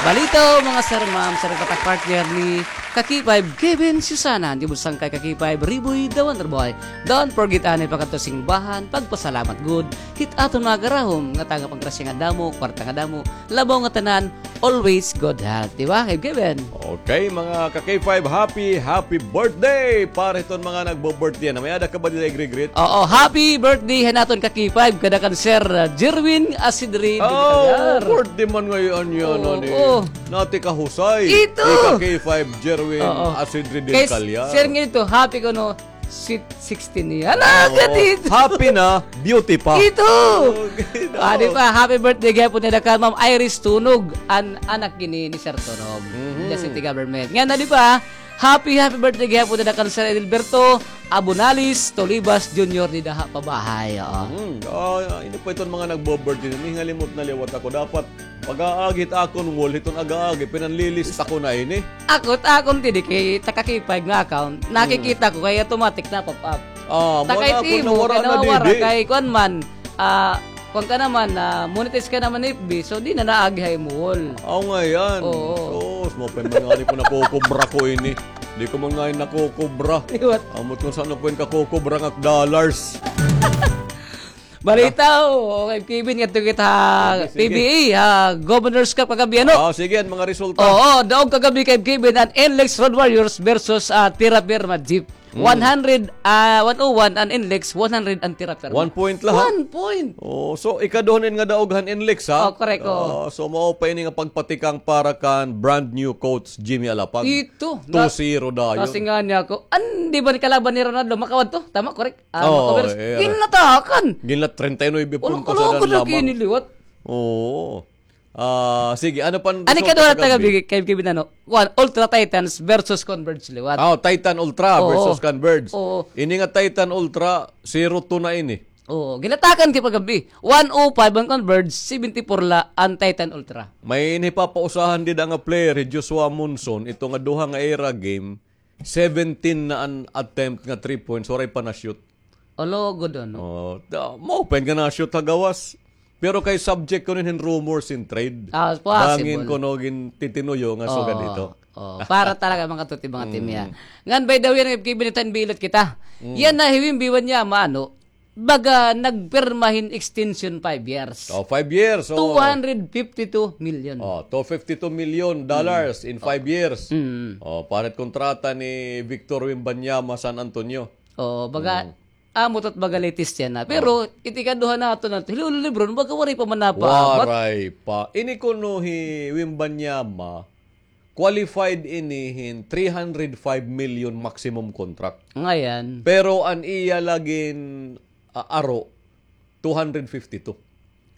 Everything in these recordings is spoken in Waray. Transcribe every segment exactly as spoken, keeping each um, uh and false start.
Balitaw, mga sir, ma'am, sir, katak partner ni Kaki Five, Kevin Susana, di mo sangkay Kaki Five, Riboy, the Wonder Boy. Don't forget, anay pakadto simbahan, pagpasalamat gud, hit aton mga garahom, nga taga panggrasya nga damo, kwarta nga damo, labaw nga tanan, always good health, di ba, Kevin? Okay, mga ka-K five, happy, happy birthday para hiton mga nagbo-birthday na. May-ada ka ba dida igre-greet? Oo, happy birthday han aton ka-K five, kada kan Sir, uh, Jerwin Asidri. Oh, birthday man ngayon yan, oo, ano, eh. Nati ka Husay. Ito. Ika K five, Jerwin Asidri del Calyar. Sir, nga ito, happy ko, no? Sweet sixteen niya. Ala, oo. Happy na, beauty pa. Ito. Okay, no. Ah, di ba? Happy birthday gihapon nida kan Ma'am Iris Tunog, an anak gini ni Sir Tunog. Mhm. The city government. Nga na, di ba? Happy, happy birthday gihapon nida kan Sir Edilberto Abonalis Tolibas Junior dida ha Pabahay. Oo. Mhm. Ah, ini pa iton mga nagbo-birthday. Hingalimot na liwat ako. Dapat pag-aagi hit akon wall, hiton ag-aagi, pinanlilista ko na ini. Ako, ta akon didi kay taka-K five nga account, nakikita ko kay automatic na pop up. Ah, ta kay timo, kay nawara didi. Kay kuan man, ah, kuan ka naman, ah, monetize ka naman F B, so di na naagi ha imo wall. Aw, nga yan. Oo. Sus, maupay man ngani ko nakukubra ko ini. Di ko man ngani nakukubra. Liwat. Ambot kon san-o ko kakukubra nga dollars. Balita, o, kay Kevin, ngadto kita ha P B A, ha Governor's Cup kagab-i, ano? Ah, sige, an mga resulta. Oo, daog kagab-i kay Kevin, an NLEX Road Warriors versus, ah, Terra Firma Jeep. Mm. One hundred, ah, one oh one an NLEX, one hundred an Terra Firma. One point la, ha? One point. Oh, so, ikaduha na ini nga daog han NLEX, ha? Oh, correct, oo. Ah, so, mao pa ini nga pagpatikang para kan brand new coach Jimmy Alapag. Ito. Two zero dayon. Kasi nga niya ako, an, di ba ni kalaban ni Ronaldo, makawan to? Tama, correct? Ah, oo, makawiras. Ginlatakan. Ginlat-, treinta y nueve puntos na lang lamang. Liwat. Oo. Ah, sige, ano pa an resulta kagab-i? Kay, kay Kevin, ano? Kuan, Ultra Titans versus Converge liwat. Ah, Titan Ultra versus Converge. Oo. Ini nga Titan Ultra, zero two na ini. Oo, ginlatakan kay pagkagab-i. One oh five an Converge, seventy-four la an Titan Ultra. May ini papausahan dida nga player, hi Joshua Monson, ito nga duha nga ira game, seventeen na an attempt nga three points, waray pa na-shoot. Olo, good, ano? Oh, da, maupay nga na-shoot ha gawas. Pero kay subject kuno hin rumors hin trade. Ah, possible. Bangin kuno gintitinuyo nga sugad ito. Oh, para talaga makatuti mga team niya. Mm. Ngan, by the way, nag-, kibinitan bilat kita. Mm. Yana hi Wimby Wanyama, ano, baga nagpirma hin extension five years. Oh, five years, oh. Two hundred fifty-two million. Oh, two fifty-two million dollars in five years. Mm. Oh, parit kontrata ni Victor Wembanyama, San Antonio. Oh, baga, amo ito baga latest yana. Pero, it ikaduha naton, hi Lolo Lebron, baga waray pa man napaabat. Waray pa. Ini kuno hi Wembanyama, qualified ini hin three hundred five million maximum contract. Ngayan. Pero an iya la gin, ah, aro, two hundred fifty-two.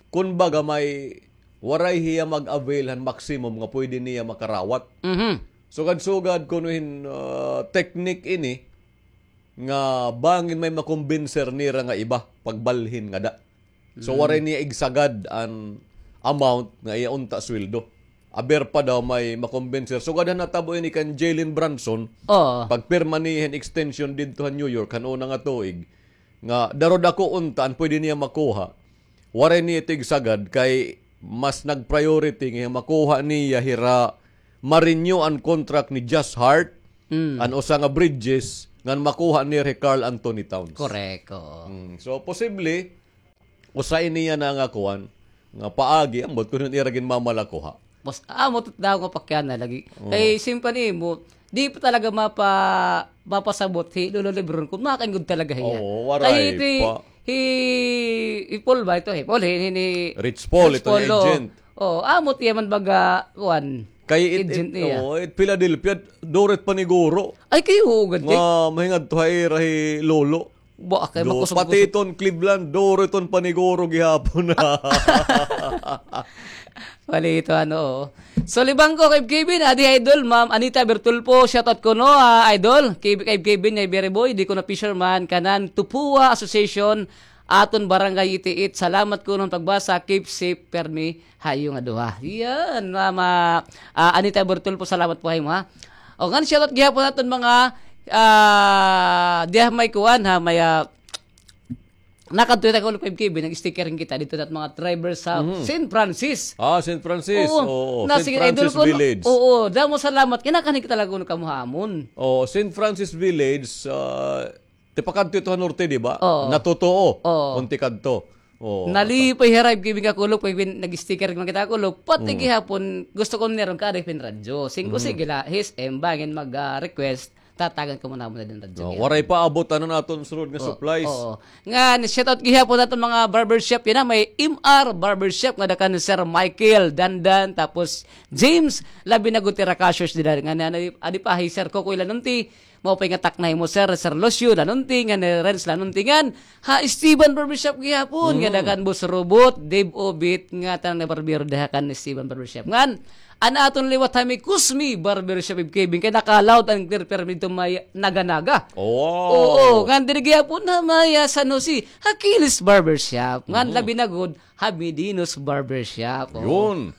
Kun baga may waray hiya mag-avail han maximum nga pwede niya makarawat. Mhm. Sugad-sugad kuno hin, ah, technique ini nga bangin may makumbinser nira nga iba pagbalhin ngada. So, waray niya igsagad an amount nga iya unta sweldo. Aber pa daw may makumbinser. Sugad han natabo ini kan Jalen Brunson, pagpirma niya hin extension didto han New York, han una nga tuig, nga daw dako unta an pwede niya makuha. Waray niya ito igsagad kay mas nag-priority nga makuha niya hira ma-renew an contract ni Josh Hart, an usa nga Bridges, ngan makuha niya hi Karl Anthony Towns. Correct, oo. Mm, so, posible, usa ini yana nga kuan, nga paagi, ambot kun hin ira ginmamalakuha. Mas, ah, amo ito daw nga pakyanan lagi. Oo. Kay simpan nimo, di pa talaga mapa-, mapasabot hi Lolo Lebron kun makaingod talaga hiya. Oo, waray pa. Kay hi, hi, hi Paul ba ito? Hi Paul, hi, hi, hi Rich Paul, ito nga agent. Oo, amo ito iya man baga, kuan, agent niya. Kay it, it, oo, it Philadelphia, duro it paniguro. Ay, kay huugad, eh. Nga, mahingadto ha ira hi Lolo. Ba, kay makusog-kusog. Pati iton Cleveland, duro iton paniguro gihapon. Bali ito, ano, oo. So, libang ko kay Kevin, adi, idol, Ma'am Anita Bertulfo, shoutout kuno, ah, idol, kay, kay Kevin, kay Berry Boy, di kuno fisherman, kanan, Tupua Association, aton barangay itiit. Salamat kuno han pagbasa, keep safe, permi, ha iyo nga duha. Yan, Ma'am, ah, Anita Bertulfo, salamat po ha imo, ha. O, ngan shoutout gihapon aton mga, ah, diha may kuan, ha, may, ah, Nakadto kita, Kulob, five K B, nag-sticker kita didto ha mga driver sa Saint Francis. Ah, Saint Francis. Oo. Oo, na, Saint sige, Francis Idol, Kulob. Village. Oo, damo salamat. Kinakanan kita talaga, Kulob, kamo ha amon. Oo, Saint Francis Village, ah, tipakadto ito ha norte, di ba? Oo. Natotoo. Oo. Kon tikadto. Oo. Nalipay hira, five K B, nga, Kulob, kay bin-, nag-sticker man kita, Kulob. Pati gihapon, gusto ko niron kaada hin radyo. Singko, sige la, his, em, bangin mag, ah, request. Tatagan ko man namon na din radyo. Oh, waray pa abot an aton sulod nga supplies. Oo. Ngan, shout out gihapon aton mga barbershop yana. May M R Barbershop nga ada kan Sir Michael Dandan, tapos James, labi na gud hira cashiers dida. Ngan, ano, adi pa hi Sir Kokoy Lanunti, maupay nga takna ha imo, Sir, Sir Lucio Lanunti, ngan, eh, Renz Lanunti, ngan, ha Esteban Barbershop gihapon, nga ada kan Boss Robot, Dave Obit, nga tanan nga barbero diha kan Esteban Barbershop. Ngan, an aton liwat ha may Kusmi Barbershop, five K B, kay naka-loud and clear permi didto may Naga-Naga. Oo. Oo, ngan diri gihapon ha may, ah, San Jose, ha Kilis Barbershop. Ngan labi na gud, ha Medinos Barbershop. Oo. Yun.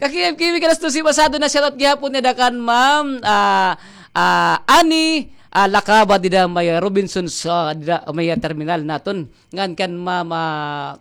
Kaki-, five K B, alas dose pasado na, shout out gihapon nida kan Ma'am, ah, ah, Ani, ah, Lakaba dida may, ah, Robinsons, dida may, ah, terminal naton. Ngan kan Ma'am, ah,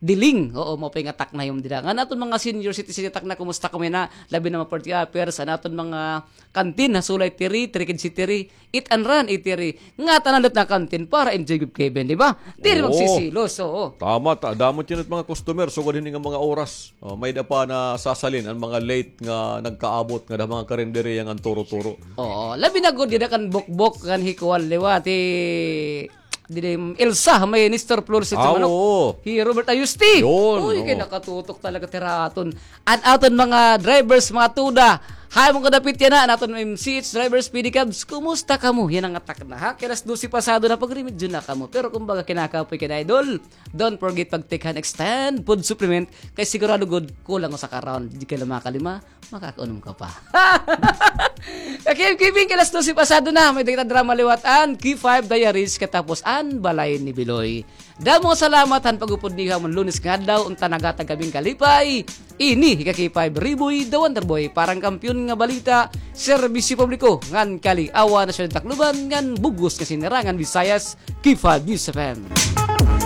Diling. Oo, maupay nga takna ha imo dida. Ngan aton mga senior citizen, takna, kumusta kamo yana? Labi na mga party hoppers, an aton mga kantin, ha Sulay Tiri, Trikid City, Eat and Run, Eatery. Nga tanan didto na kantin para enjoy gud, five K B, di ba? Diri magsisilos, oo. Tama, ta-, damo it mga customer, sugad hini nga mga oras. Oh, may-ada pa nasasalin an mga late nga nagkaabot nga da mga karinderya ngan turo-turo. Oo, labi na gud dida kan Bokbok, kan Hikual liwat, eh, dida Elsa, may Nestor Flores sa manok. Oo. Hi Robert Ayusti. Yun, oo. Uy, kay nakatutok talaga hira aton. An aton mga drivers, mga tuda, ha amon kadapit yana, an aton M C H drivers, pedicabs, kumusta kamo? Yana nga takna, ha? Kay alas dose pasado na, pagremedyo na kamo. Pero kumbaga, kinakapoy kay na, idol. Don't forget pag-take han Xtend food supplement, kay sigurado gud kulang usa ka round, di kay la makalima, makakaunom ka pa. Kaki-, five K B, kay alas dose pasado na, may-ada kita drama liwat an K five Diaries, katapos an Balay ni Biloy. Damo nga salamat han pag-upod niyo ha amon Lunes nga adlaw, unta naghatag kami hin kalipay. Ini hi Kaki five Riboy, the Wonder Boy, para han Kampiyon nga Balita, Serbisyo Publiko, ngan Kali-awan, Nasyon han Tacloban, ngan bug-os nga Sinirangan Visayas, K five News F M.